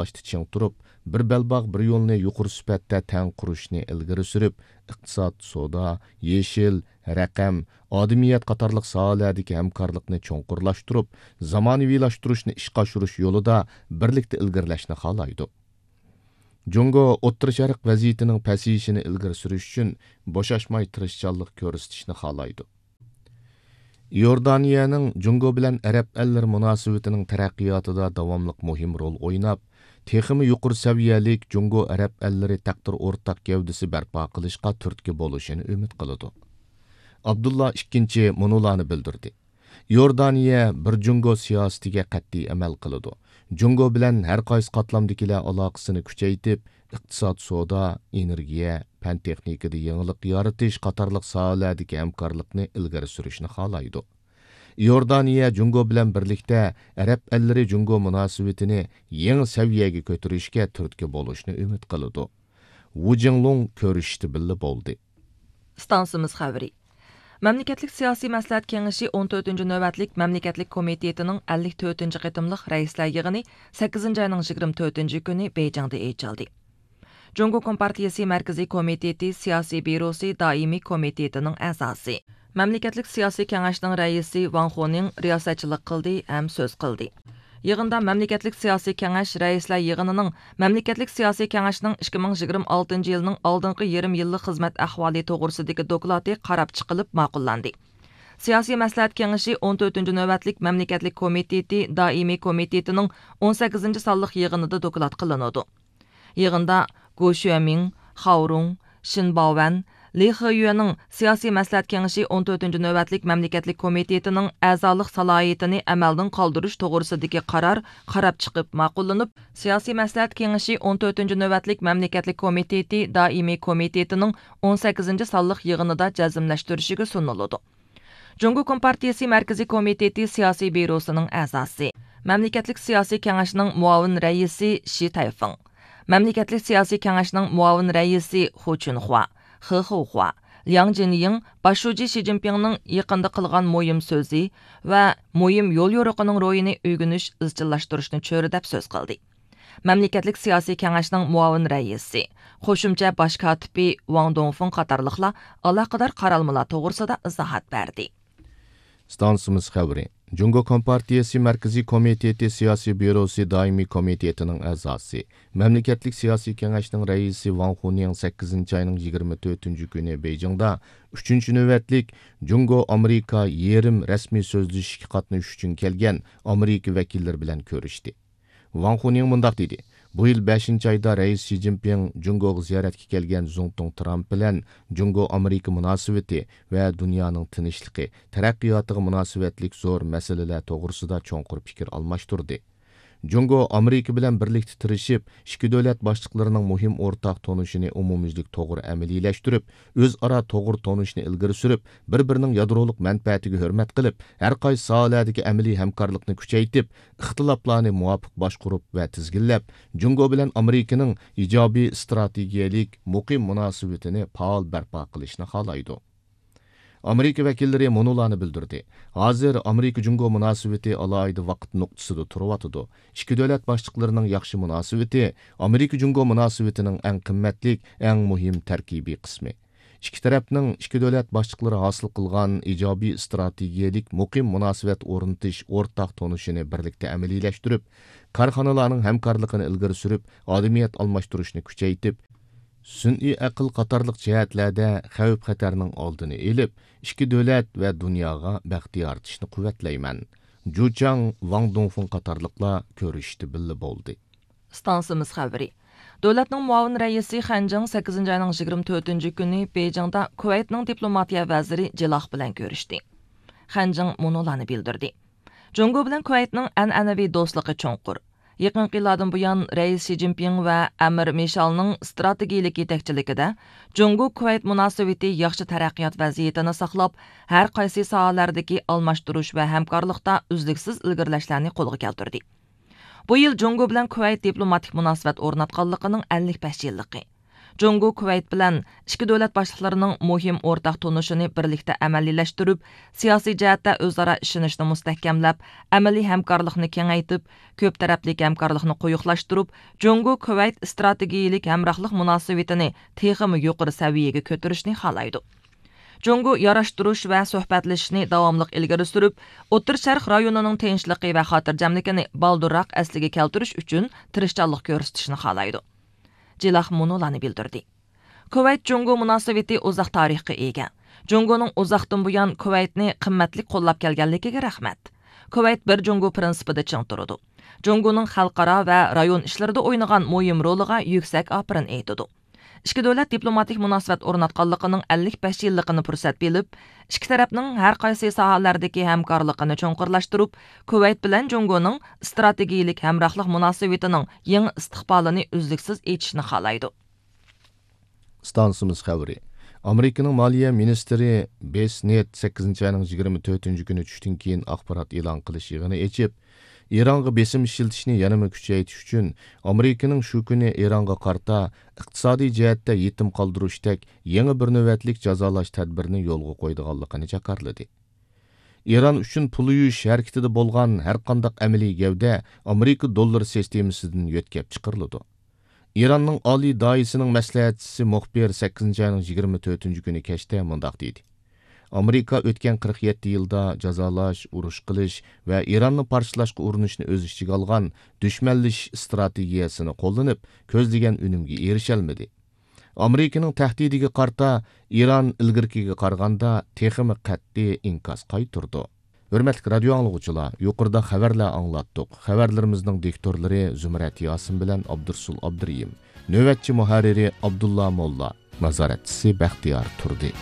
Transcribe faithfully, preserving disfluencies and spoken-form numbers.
ئاشتا چىڭ تۇرۇپ، بىر بەلباغ، بىر يولنى يۇقىرى سۈپەتتە تەڭ قۇرۇشنى ئىلگىرى سۈرۈپ، ئىقتىساد، سودا، يېشىل، رەقەم، ئادىمىيەت قاتارلىق ساھەلەردىكى ھەمكارلىقنى چوڭقۇرلاشتۇرۇپ، زامانىۋىلاشتۇرۇشنى ئىشقا ئاشۇرۇش يولىدا بىرلىكتە ئىلگىرىلەشنى خالايدۇ. جۇڭگو ئوتتۇرا شەرق ۋەزىيىتىنىڭ پەسىيىشىنى ئىلگىرى سۈرۈش ئۈچۈن بوشاشماي تىرىشچانلىق كۆرسىتىشنى خالايدۇ. ئىئوردانىيەنىڭ جۇڭگو بىلەن ئەرەب ئەللىرى مۇناسىۋىتىنىڭ تەرەققىياتىدا داۋاملىق مۇھىم رول ئويناپ، تېخىمۇ يۇقىرى سەۋىيەلىك جۇڭگو ئەرەب ئەللىرى تەقدىر ئورتاق گەۋدىسى بەرپا قىلىشقا تۈرتكە بولۇشىنى ئۈمىد قىلىدۇ. ئابدۇللا ئىككىنچى مۇنۇلارنى بىلدۈردى. ئىئوردانىيە بىر جۇڭگو سىياسىتىگە قەتئىي ئەمەل قىلىدۇ. جۇڭگو بىلەن ھەر قايسى قاتلامدىكىلەر ئالاقىسىنى كۈچەيتىپ، ئىقتىساد، سودا، ئېنېرگىيە، پەن تېخنىكىدا يېڭىلىق يارىتىش قاتارلىق ساھەلەردىكى ھەمكارلىقنى ئىلگىرى سۈرۈشنى خالايدۇ. ئىئوردانىيە جۇڭگو بىلەن بىرلىكتە ئەرەب ئەللىرى جۇڭگو مۇناسىۋىتىنى يېڭى سەۋىيەگە كۆتۈرۈشكە تۈرتكە بولۇشنى ئۈمىد قىلىدۇ. ۋۇ جىڭلۇڭ كۆرۈشۈشتە بىللە بولدى. ئىستانسىمىز خەۋىرى. مەملىكەتلىك سىياسىي مەسلىھەت كېڭىشى ئون تۆتىنچى نۆۋەتلىك مەملىكەتلىك كومىتېتىنىڭ ئەللىك تۆتىنچى قېتىملىق رەئىسلەر يىغىنى سەككىزىنچى ئاينىڭ يىگىرمە تۆتىنچى كۈنى بېيجىڭدا ئېچىلدى. جۇڭگو كومپارتىيىسى مەركىزىي كومىتېتى سىياسىي بيۇروسى دائىمىي كومىتېتىنىڭ ئەزاسى، مەملىكەتلىك سىياسىي كېڭەشنىڭ رەئىسى ۋاڭ خۇنىڭ رىياسەتچىلىك قىلدى ھەم سۆز قىلدى. يىغىندا مەملىكەتلىك سىياسىي كېڭەش رەئىسلەر يىغىنىنىڭ مەملىكەتلىك سىياسىي كېڭەشنىڭ ئىككى مىڭ يىگىرمە ئالتىنچى يىلنىڭ ئالدىنقى يېرىم يىللىق خىزمەت ئەھۋالى توغرىسىدىكى دوكلاتى قاراپ چىقىلىپ ماقۇللاندى. سىياسىي مەسلىھەت كېڭىشى ئون تۆتىنچى نۆۋەتلىك مەملىكەتلىك كومىتېتى دائىمىي كومىتېتىنىڭ ئون سەككىزىنچى سانلىق يىغىنىدا دوكلات قىلىنىدۇ. يىغىندا گو شۈەمىڭ، خاۋ رۇڭ، شېن باۋەن، لى خېيۈەنىڭ سىياسىي مەسلىھەت كېڭىشى ئون تۆتىنچى نۆۋەتلىك مەملىكەتلىك كومىتېتىنىڭ ئەزالىق سالاھىيىتىنى ئەمەلدىن قالدۇرۇش توغرىسىدىكى قارار قاراپ چىقىپ ماقۇللىنىپ، سىياسىي مەسلىھەت كېڭىشى ئون تۆتىنچى نۆۋەتلىك مەملىكەتلىك كومىتېتى دائىمىي كومىتېتىنىڭ ئون سەككىزىنچى سانلىق يىغىنىدا جەزملەشتۈرۈشىگە سۇنۇلىدۇ. جۇڭگو كومپارتىيىسى مەركىزىي كومىتېتى سىياسىي بيۇروسىنىڭ ئەزاسى، مەملىكەتلىك سىياسىي كېڭەشنىڭ مۇئاۋىن رەئىسى شى تەيفېڭ، مەملىكەتلىك سىياسىي كېڭەشنىڭ مۇئاۋىن رەئىسى خۇ چۈنخۇا، خې خېخۇا، لياڭ جىنيىڭ باش شۇجى شى جىنپىڭنىڭ يېقىندا قىلغان مۇھىم سۆزى ۋە مۇھىم يوليورۇقىنىڭ روھىنى ئۆگىنىش، ئىزچىللاشتۇرۇشنى چۆرىدەپ سۆز قىلدى. مەملىكەتلىك سىياسىي كېڭەشنىڭ مۇئاۋىن رەئىسى، قوشۇمچە باش كاتىپى ۋاڭ دۇڭفېڭ قاتارلىقلار ئالاقىدار قارالمىلار توغرىسىدا ئىزاھات بەردى. ئىستانسىمىز خەۋىرى. جۇڭگو كومپارتىيىسى مەركىزىي كومىتېتى سىياسىي بيۇروسى دائىمىي كومىتېتىنىڭ ئەزاسى، مەملىكەتلىك سىياسىي كېڭەشنىڭ رەئىسى ۋاڭ خۇنىڭ سەككىزىنچى ئاينىڭ يىگىرمە تۆتىنچى كۈنى بېيجىڭدا ئۈچىنچى نۆۋەتلىك جۇڭگو ئامېرىكا يېرىم رەسمىي سۆزلىشىشكە قاتنىشىش ئۈچۈن كەلگەن ئامېرىكا ۋەكىللىرى بىلەن كۆرۈشتى. ۋاڭ خۇنىڭ مۇنداق دېدى: بۇ يىل بەشىنچى ئايدا رەئىس شى جىنپىڭ جۇڭگوغا زىيارەتكە كەلگەن زۇڭتۇڭ ترامپ بىلەن جۇڭگو ئامېرىكا مۇناسىۋىتى ۋە دۇنيانىڭ تىنچلىقى، تەرەققىياتىغا مۇناسىۋەتلىك زور مەسىلىلەر توغرىسىدا چوڭقۇر پىكىر ئالماشتۇردى. جۇڭگو ئامېرىكا بىلەن بىرلىكتە تىرىشىپ، ئىككى دۆلەت باشلىقلىرىنىڭ مۇھىم ئورتاق تونۇشىنى ئومۇميۈزلۈك توغرا ئەمەلىيلەشتۈرۈپ، ئۆزئارا توغرا تونۇشنى ئىلگىرى سۈرۈپ، بىر-بىرىنىڭ يادرولۇق مەنپەئەتىگە ھۆرمەت قىلىپ، ھەر قايسى ساھەلەردىكى ئەمەلىي ھەمكارلىقنى كۈچەيتىپ، ئىختىلاپلارنى مۇۋاپىق باشقۇرۇپ ۋە تىزگىنلەپ، جۇڭگو بىلەن ئامېرىكىنىڭ ئىجابىي ئىستراتېگىيەلىك مۇقىم مۇناسىۋىتىنى پائال بەرپا قىلىشنى خالايدۇ. ئامېرىكا ۋەكىللىرى مۇنۇلارنى بىلدۈردى: ھازىر ئامېرىكا جۇڭگو مۇناسىۋىتى ئالاھىدە ۋاقىت نۇقتىسىدا تۇرۇۋاتىدۇ. ئىككى دۆلەت باشلىقلىرىنىڭ ياخشى مۇناسىۋىتى ئامېرىكا جۇڭگو مۇناسىۋىتىنىڭ ئەڭ قىممەتلىك، ئەڭ مۇھىم تەركىبىي قىسمى. ئىككى تەرەپنىڭ ئىككى دۆلەت باشلىقلىرى ھاسىل قىلغان ئىجابىي ئىستراتېگىيەلىك مۇقىم مۇناسىۋەت ئورنىتىش ئورتاق تونۇشىنى بىرلىكتە ئەمەلىيلەشتۈرۈپ، كارخانىلارنىڭ ھەمكارلىقىنى ئىلگىرى سۈرۈپ، ئادىمىيەت ئالماشتۇرۇشنى كۈچەيتىپ، سۈنئىي ئەقىل قاتارلىق جەھەتلەردە خەۋپ-خەتەرنىڭ ئالدىنى ئېلىپ، ئىككى دۆلەت ۋە دۇنياغا بەخت يارىتىشنى قۇۋۋەتلەيمەن. جۇچاڭ، ۋاڭ دۇڭفېڭ قاتارلىقلار كۆرۈشۈشتە بىللە بولدى. ئىستانسىمىز خەۋىرى. دۆلەتنىڭ مۇئاۋىن رەئىسى خەن جىڭ سەككىزىنچى ئاينىڭ يىگىرمە تۆتىنچى كۈنى بېيجىڭدا كۇۋەيتنىڭ دىپلوماتىيە ۋەزىرى جىلاخ بىلەن كۆرۈشتى. خەن جىڭ مۇنۇلارنى بىلدۈردى: جۇڭگو بىلەن كۇۋەيتنىڭ ئەنئەنىۋى دوستلۇقى چوڭقۇر. يېقىنقى يىللاردىن بۇيان، رەئىس شى جىنپىڭ ۋە ئەمىر مىشالنىڭ ئىستراتېگىيىلىك يېتەكچىلىكىدە جۇڭگو كۇۋەيت مۇناسىۋىتى ياخشى تەرەققىيات ۋەزىيىتىنى ساقلاپ، ھەر قايسى ساھەلەردىكى ئالماشتۇرۇش ۋە ھەمكارلىقتا ئۈزلۈكسىز ئىلگىرىلەشلەرنى قولغا كەلتۈردى. بۇ يىل جۇڭگو بىلەن كۇۋەيت دىپلوماتىك مۇناسىۋەت ئورناتقانلىقىنىڭ ئەللىك بەش يىللىقى. جۇڭگو كۇۋەيت بىلەن ئىككى دۆلەت باشلىقلىرىنىڭ مۇھىم ئورتاق تونۇشىنى بىرلىكتە ئەمەلىيلەشتۈرۈپ، سىياسىي جەھەتتە ئۆزئارا ئىشىنىشنى مۇستەھكەملەپ، ئەمەلىي ھەمكارلىقنى كېڭەيتىپ، كۆپ تەرەپلىك ھەمكارلىقنى قويۇقلاشتۇرۇپ، جۇڭگو كۇۋەيت ئىستراتېگىيىلىك ھەمراھلىق مۇناسىۋىتىنى تېخىمۇ يۇقىرى سەۋىيەگە كۆتۈرۈشنى خالايدۇ. جۇڭگو ياراشتۇرۇش ۋە سۆھبەتلىشىشنى داۋاملىق ئىلگىرى سۈرۈپ، ئوتتۇرا شەرق رايونىنىڭ تىنچلىقى ۋە خاتىرجەملىكىنى بالدۇرراق ئەسلىگە كەلتۈرۈش ئۈچۈن تىرىشچانلىق كۆرسىتىشنى خالايدۇ. جىلاخ مۇنۇلارنى بىلدۈردى. كۇۋەيت جۇڭگو مۇناسىۋىتى ئۇزاق تارىخقا ئىگە. جۇڭگونىڭ ئۇزاقتىن بۇيان كۇۋەيتنى قىممەتلىك قوللاپ كەلگەنلىكىگە رەھمەت. كۇۋەيت بىر جۇڭگو پىرىنسىپىدا چىڭ تۇرىدۇ. جۇڭگونىڭ خەلقئارا ۋە رايون ئىشلىرىدا ئوينىغان مۇھىم رولىغا يۈكسەك ئاپىرىن ئېيتىدۇ. ئىككى دۆلەت دىپلوماتىك مۇناسىۋەت ئورناتقانلىقىنىڭ ئەللىك بەش يىللىقىنى پۇرسەت بىلىپ، ئىككى تەرەپنىڭ ھەر قايسى ساھەلەردىكى ھەمكارلىقىنى چوڭقۇرلاشتۇرۇپ، كۇۋەيت بىلەن جۇڭگونىڭ ئىستراتېگىيىلىك ھەمراھلىق مۇناسىۋىتىنىڭ يېڭى ئىستىقبالىنى ئۈزلۈكسىز ئېچىشنى خالايدۇ. ئىستانسىمىز خەۋىرى. ئامېرىكىنىڭ مالىيە مىنىستىرى بېس نېت سەككىزىنچى ئاينىڭ يىگىرمە تۆتىنچى كۈنى چۈشتىن كېيىن ئاخبارات ئېلان قىلىش يىغىنى ئېچىپ، ئىرانغا بېسىم ئىشلىتىشنى يەنىمۇ كۈچەيتىش ئۈچۈن ئامېرىكىنىڭ شۇ كۈنى ئىرانغا قارىتا ئىقتىسادىي جەھەتتە يېتىم قالدۇرۇشتەك يېڭى بىر نۆۋەتلىك جازالاش تەدبىرىنى يولغا قويىدىغانلىقىنى جاكارلىدى. ئىران ئۈچۈن پۇل يۇيۇش ھەرىكىتىدە بولغان ھەرقانداق ئەمەلىي گەۋدە ئامېرىكا دوللىرى سىستېمىسىدىن يۆتكەپ چىقىرىلىدۇ. ئىراننىڭ ئالىي دائىسىنىڭ مەسلىھەتچىسى مۇخبىر سەككىزىنچى ئاينىڭ يىگىرمە تۆتىنچى كۈنى كەچتە مۇنداق دېدى: ئامېرىكا ئۆتكەن قىرىق يەتتە يىلدا جازالاش، ئۇرۇش قىلىش ۋە ئىراننى پارچىلاشقا ئۇرۇنۇشنى ئۆز ئىچىگە ئالغان دۈشمەنلىشىش ئىستراتېگىيەسىنى قوللىنىپ، كۆزلىگەن ئۈنۈمگە ئېرىشەلمىدى. ئامېرىكىنىڭ تەھدىتىگە قارىتا ئىران ئىلگىرىكىگە قارىغاندا تېخىمۇ قەتئىي ئىنكاس قايتۇرىدۇ. ھۆرمەتلىك رادىيو ئاڭلىغۇچىلار، يۇقىرىدا خەۋەرلەر ئاڭلاتتۇق. خەۋەرلىرىمىزنىڭ دىكتورلىرى زۇمرەت ياسىن بىلەن ئابدۇرسۇل ئابدۇرېھىم. نۆۋەتچى مۇھەررىرى ئابدۇللا موللا. نازارەتچىسى بەختىيار تۇردى.